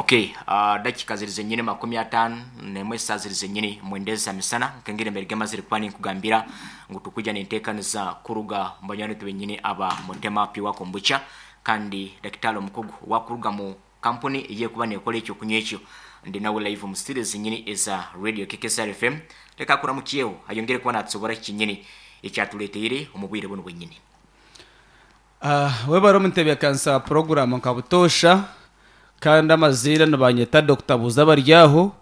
Okay, dakika ziri zenyini 51 esaaha ziri zenyini 9 eza misana nkengeri embere gemazire kuba ninkugambira ngu tukwija nintekaniza kuruga mu banywani baitu benyini aba Mutema Pure Kombucha kandi dakitari omukugu wakuruga mu kampuni eyekuba nekora ekyokunywa ekyo ndi nawe live mu studio zenyini eza Radio KKSR FM. Leka akuramukyeho ayongere kuba natusobora kinyini ekyatuleteire omu bwire bunu bwenyini. Webare omu ntebeekanisa ya puroguraamu nka butoosha kandi amaziina nibanyeta Dokita Buuza Abaryaho.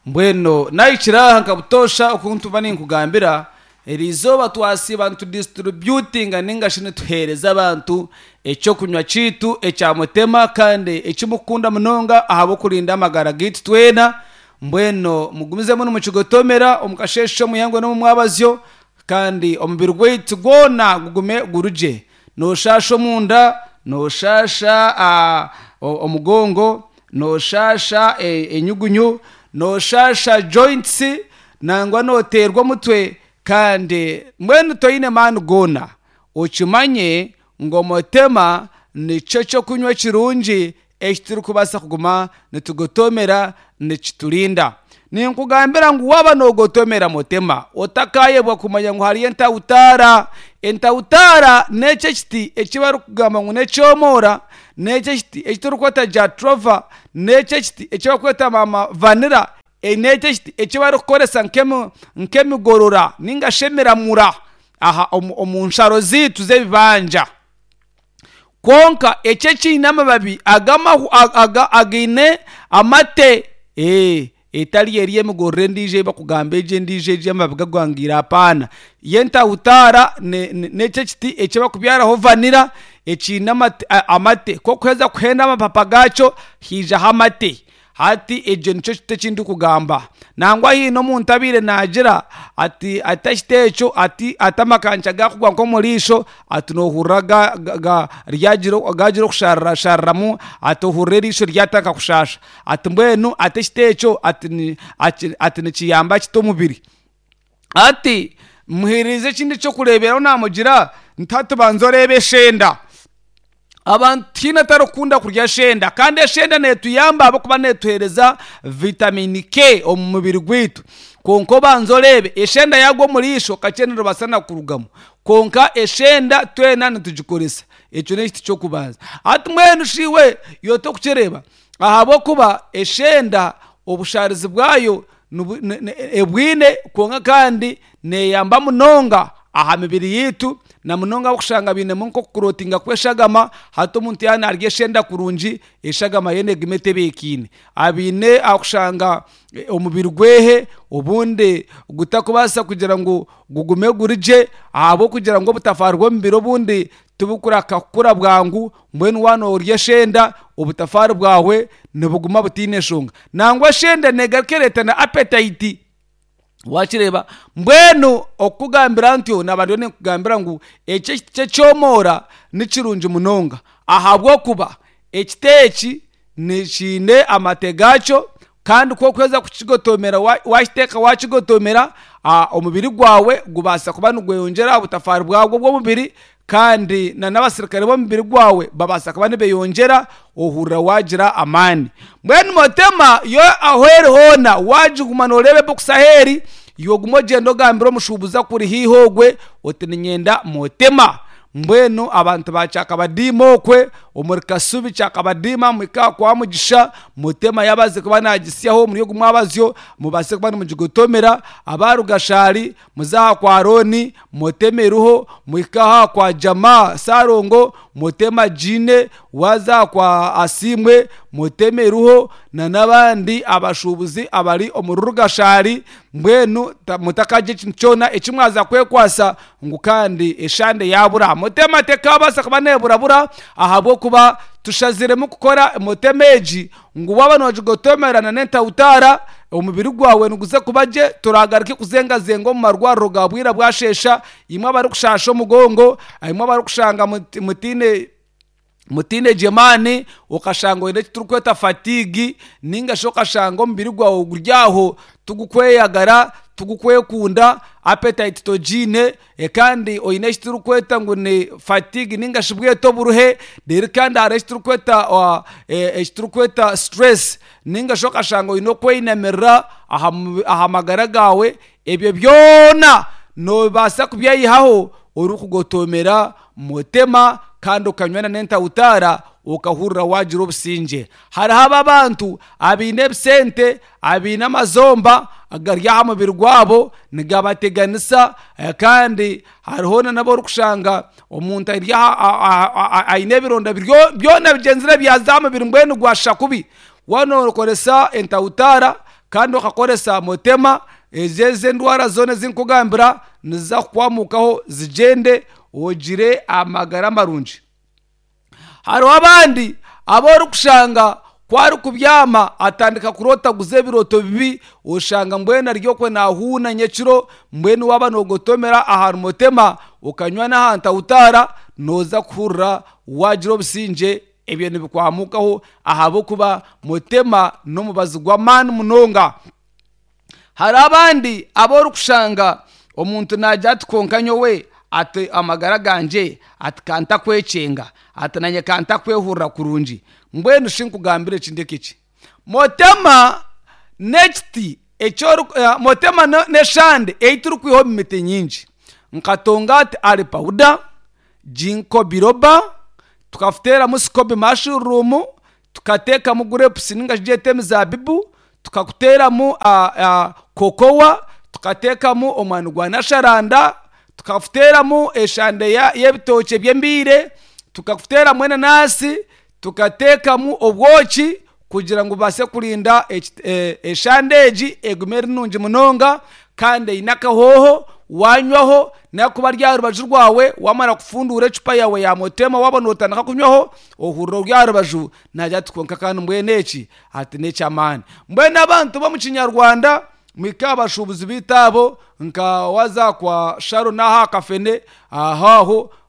Mbwenu naahikire aha nka butoosha oku ntuba ninkugambira, eriizooba twasiiba nitudisiturubiyutinga nainga shi nituheereza abantu eky'okunywa kyaitu ekya Mutema kandi eki murikukunda munonga ahabw'okurinda amagara gaitu twena. Mbwenu mugumizemu nimukigotomera omu kasheeshe, omu ihangwe n'omu mwabazyo kandi omubiri gwaitu gwona gugume guri gye. Nooshaasha omunda, nooshaasha omugongo, nooshaasha enyugunyu, nooshaasha joints, nangwa nooteerwa omutwe kandi mbwenu toine maani goona. Okimanye ngu omutema nikyo ky'okunywa kirungi eki turikubaasa kuguma nitugotomera nikiturinda. Ninkugambira ngu waaba noogotomera mutema, otakaayebwa kumanya ngu hariyo entawutaara. Entawutaara n'ekyo ekiti eki barikugamba ngu n'ekyomoora, n'ekyo ekiti eki turikweta jatrova, n'ekyo ekiti eki barikweta maama vanira, n'ekyo ekiti eki barikukoresa nk'emigorora nainga shi emiramura aha omu nsharo zaitu z'ebibanja. Kwonka eki ekiine amababi againe amate etari eri emigorora endiijo ei barikugamba egi endiijo egi amababi gagwangiire apaana. Yo entawutaara n'ekyo ekiti eki barikubyaraho vanira ekiine amate ku orikuheza kuhenda amapapa gaakyo haijaho amate. Hati ekyo nikyo kiti eki ndikugamba. Nangwa haine omuntu abaire naagira ati ati ekiti ekyo ati ati amakanca gaakugwa nk'omu riisho ati noohurira gaagira okusharirashariramu ati ohurira eriisho ryatandika kushaasha. Ati mbwenu ati ekiti ekyo ati nikiyamba kita omubiri? Hati muheereze ekindi eky'okureeberaho naamugira nti hati banza oreebe eshenda. Abantu tihaine atarikukunda kurya shenda kandi eshenda neetuyamba ahabw'okuba neetuheereza vitamini K omu mubiri gwaitu. Kwonka obanze oreebe eshenda yaagwa omu riisho kakye niribaasa na kurugamu. Kwonka eshenda twena nitugikoresa. Ekyo n'ekiti ky'okubanza. Hati mbwenu shi iwe iwe torikukireeba? Ahabw'okuba eshenda obushaarizi bwayo ebwine kwonka kandi neeyamba munonga aha mibiri yaitu na munonga abarikushanga bainemu nk'okukurotinga kw'eshagama. Hati omuntu yaaba naarya eshenda kurungi, eshagama ye neeguma etebeekaine. Abaine ahakushanga omubiri gwe obundi gutakubaasa kugira ngu gugume guri gye ahabw'okugira ngu obutafaari bw'omubiri obundi tibukuraka kukura bwangu, mbwenu waaba noorya eshenda obutafaari bwawe nibuguma butaine nshonga. Nangwa eshenda neegaruka ereeta na apetayiti waakireeba. Mbwenu okukugambira ntyo naaba ndiyo ninkugambira ngu eki ekiti ky'ekyomoora ni kirungi munonga ahabw'okuba ekiti eki nikiine amate gaakyo kandi ku orikuheza kukigotomera waakiteeka waakigotomera omubiri gwawe gubaasa kuba nigweyongyera aha butafaari bwagwo bw'omubiri kandi n'abasirikare b'omubiri gwawe babaasa kuba nibeyongyera ohurira waagira amaani. Mbwenu Motema yo ahu eri hoona waagiguma nooreeba ebokisi ahu eri, iwe ogume ogyende ogambire omushuubuzi akuri haihi ogwe oti niinyenda Motema. Mbwenu abantu ba Kyakabadiima okwe omuri Kasubi Kyakabadiima muhike aha kwa Mugisha, Mutema yaabaase kuba naagisyaho omuri ogu mwabazyo mubaase kuba nimugigotomera. Aba Rugashari muze aha kwa Arooni Mutema eriho, muhike aha kwa Jamaa Ssalongo Mutema agiine, waaza aha kwa Asiimwe Mutema eriho n'abandi abashuubuzi abari omuri Rugashari. Mbwenu mutakagira ekintu kyona eki mwaza kwekwasa ngu kandi eshande yaabura. Mutema tekaabaasa kuba neeburabura ahabw'okuba tushaziremu kukora mutema egi ngu waaba noogigotomera n'entawutaara omubiri gwawe niguza kuba gye toragaruke kuzengazenga omu marwariro ga bwira bwasheesha. Imwe abarikushaasha omugongo, imwe abarikushanga mutaine mutaine gye maani okashanga oine eki turikweta fatigue ninga shi okashanga omubiri gwawe guri aho tigukweyagara. Tigukwekunda, appetite togiine, kandi oine eki turikweta ngu ni fatigue ninga shi bwete oburuhe, reero kandi hariho eki turikweta stress ninga shi okashanga oine okweyinamirira aha magara gaawe, ebyo byona noobaasa kubyeyihaho orikugotomera mutema kandi okanywa n'entawutaara okahurira waagira obusingye. Hariho abo abantu abaine ebisente abaine amazomba gari aha mubiri gwabo nigabateganisa kandi hariho n'abu orikushanga omuntu ari aha aine ebironda byona bigyenzire byaza aha mubiri mbwenu gwashusha kubi. Waaba nookoresa entawutaara kandi okakoresa mutema, ezo ezi endwara zoona ezi ndikukugambira niziza kukwamukaho zigyende ogire amagara marungi. Hariho abandi abu orikushanga ku arikubyama atandika kurootaguza ebirooto bibi oshanga mbwenu ari okwe naahuuna nyekiro mbwenu waaba noogotomera aha mutema okanywa n'aha ntawutaara nooza kuhurira waagira obusingye ebyo nibikwamukaho ahabw'okuba mutema n'omubazi gw'amaani munonga. Hariho abandi abu orikushanga omuntu naagira ati kwonka nyowe ati amagara gangye ati kantakwekyenga ati nanye kantakwehurira kurungi. Mbwenu shi nkugambire eki ndeke ki? Motema n'ekiti eki ori motema n'eshande ei turikwiha omu miti nyingi nka tongati ali pawuda, ginkgo biloba, tukateeramu sikobi mashuruumu, tukateekamu gurepusi ninga shi gyete emizaabibu, tukakuteeramu kokowa, tukateekamu omwani gwa nasharanda, tukakuteeramu eshande y'ebitookye by'embiire, tukakuteeramu enanasi, tukateekamu obwoki kugira ngu bubaase kurinda eshande egi egume eri nungi munonga kandi eine akahooho wanywaho nakuba ari aha rubaju rwawe wamara kufunduura ecupa yaawe ya motema waaba notandika kunywaho ohurira ori aha rubaju naagira ati kwonka kandi mbwenu eki ati n'eky'amaani. Mbwenu abantu b'omu kinyarwanda muhike aha bashuubuzi baitu abo nka waaza kwa Sharon aha Kafene aho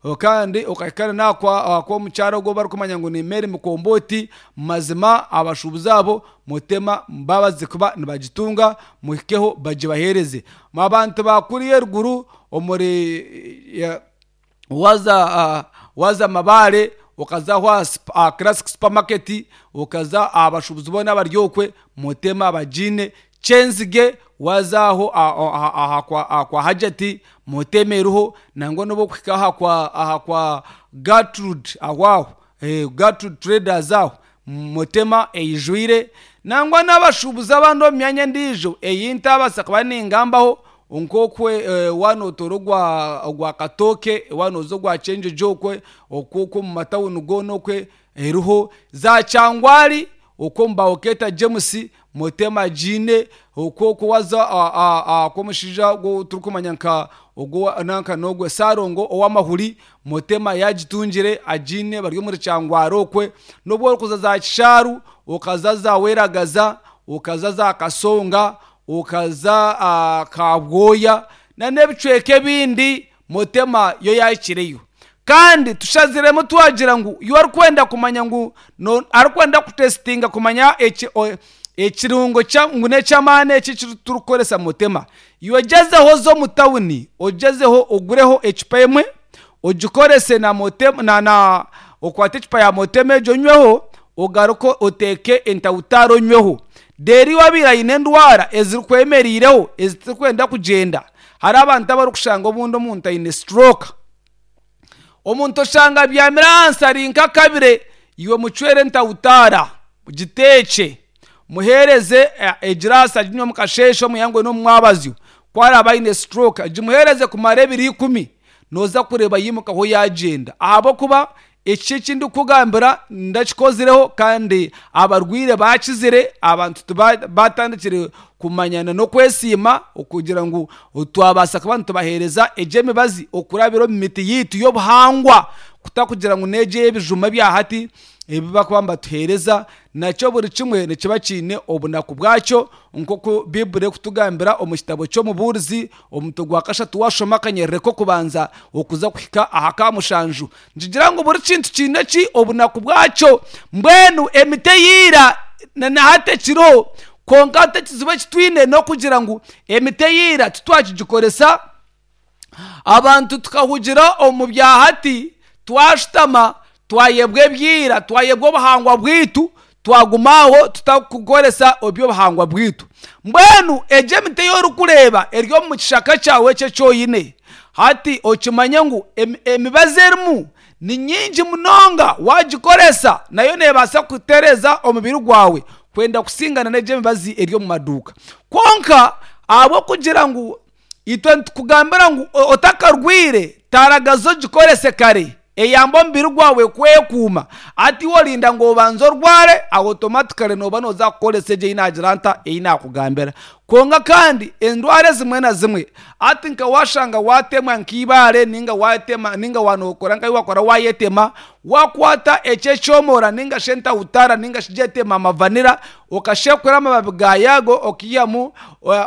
aho kandi okahika n'aha kw'omukyara ogu ou barikumanya ngu ni Mary Mukombooti mazima abashuubuzi abo mutema babaase kuba nibagitunga muhikeho bagibaheereze. Abantu ba kuriya eruguru omuri waaza waaza Mabaare okaza aho aha Classic Supermarket okaza aha bashuubuzi boona abari okwe mutema bagiine. Kyenzige waaza aho aha kwa Hajati mutema eriho nangwa n'obu orikuhika aha kwa Gertrude aho aho Gertrude Traders aho mutema eijwire. Nangwa n'abashuubuzi abandi omu myanya endiijo ei ntabaasa kuba ningambaho nk'okwe waaba nootoora ogwa Katooke waaba nooza ogwa Kyenjojo okwe okwo omu matawuni goona okwe eriho. Za Kyangwari okwo omu Bawoketa James mutema agiine okwo okwo waaza kw'omushaija ogu ou turikumanya nka ogu nanka n'ogwe Ssalongo ow'amahuri mutema yaagitungire agiine bari omuri Kyangwari okwe. N'obu orikuza za Kishaaru okaza za Weragaza okaza za Kasonga okaza Kabwoya n'ebicweka ebindi mutema yo yaahikireyo. Kandi tushaziremu twagira ngu iwe orikwenda kumanya ngu arikwenda kutesitinga kumanya ekirungo ngu n'eky'amaani eki eki turikukoresa mutema, iwe gyezeho oze omu tawuni ogyezeho ogureho ecupa emwe ogikorese na mutema na na okwate ecupa ya mutema egyo onyweho ogaruke oteeke entawutaari onyweho. Reero iwe abaire aine endwara ezirikwemereireho ezitarikwenda kugyenda, hariho abantu abarikushanga obundi omuntu aine stroke. Omuntu oshanga abyamire ahansi ari nk'akabire, iwe mucwere entawutaara, giteekye, muheereze egiraasi aginywe omu kasheeshe, omu ihangwe n'omu mwabazyo. Ku araabe aine stroke, gimuheereze kumara ebiro ikumi, nooza kureeba yaimukaho yaagyenda ahabw'okuba eki eki ndikukugambira ndakikozireho kandi abarwaire baakizire, abantu batandikire kumanyana n'okwesiima okugira ngu twabaasa kuba nitubaheereza egyo emibazi okurabira omu miti yaitu y'obuhangwa kutakugira ngu n'egyo ey'ebijuma ebya hati ebi barikuba nibatuheereza nakyo buri kimwe nikiba kiine obunaku bwakyo nk'oku Baiburi erikutugambira omu kitabo ky'Omubuurizi omutwe gwa kashatu waashoma akanyerere k'okubanza okuza kuhika aha ka mushanju nikigira ngu buri kintu kiine ki obunaku bwakyo. Mbwenu emiti eya ira na hati ekiriho. Kwonka hati ekizibu eki twine n'okugira ngu emiti eya ira titwakigikoresa, abantu tukahugira omu bya hati, twashutama twayebwa ebya ira, twayebwa obuhangwa bwaitu, twaguma aho tutakukoresa eby'obuhangwa bwaitu. Mbwenu egyo emiti ei orikureeba eri omu kishaka kyawe eki eki oine, hati okimanye ngu emibazi erimu ni nyingi munonga waagikoresa nayo neebaasa kutereeza omubiri gwawe kwenda kusingana n'egyo emibazi eri omu maduuka. Kwonka ahabw'okugira ngu itwe nitukugambira ngu otakarwaire taragaza ogikorese kare eyambe omubiri gwawe kwekuuma. Hati iwe orinda ngu obanze orware automatically nooba nooza kukoresa egyo ei naagira nta ei naakugambira. Kwonka kandi endwara ezimwe na zimwe hati nka waashanga waatemwa nk'eibaare nainga waatema nainga waanokora nka waakora waayetema, waakwata eki ekyomora nainga shi entahutara nainga shi gyete mama vanilla okashekura amababi gaayo ago okaihamu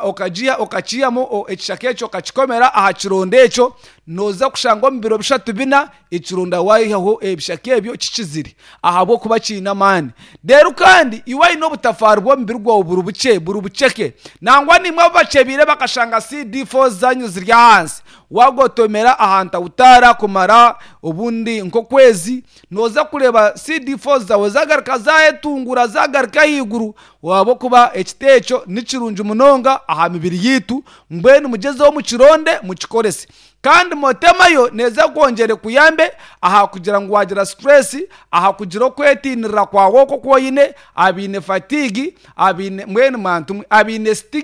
okagiha okakiihamu ekishaka ekyo okakikomera aha kironda ekyo, nooza kushanga omu biro bishatu bina ekironda waihaho ebishaka ebyo kikizire ahabw'okuba kiine amaani. Reero kandi iwe aine obutafaari bw'omubiri gwawe buri bukye buri buceke nangwa naimwe abu bakyebiire bakashanga CD4 zaanyu ziri ahansi, waagotomera aha ntahutaara kumara obundi nk'okwezi, nooza kureeba CD4 zaawe zaagaruka zaayetunguura zaagaruka ahaiguru ahabw'okuba ekiti ekyo ni kirungi munonga aha mibiri yaitu. Mbwenu mugyezeho mukironde mukikorese. Kandi motema yo neeza kwongyera ekuyambe aha kugira ngu waagira stress, aha kugira okwetiinirira kwawe okwo oku oine, abaine fatigue, abaine mbwenu mwantumwe abaine stig.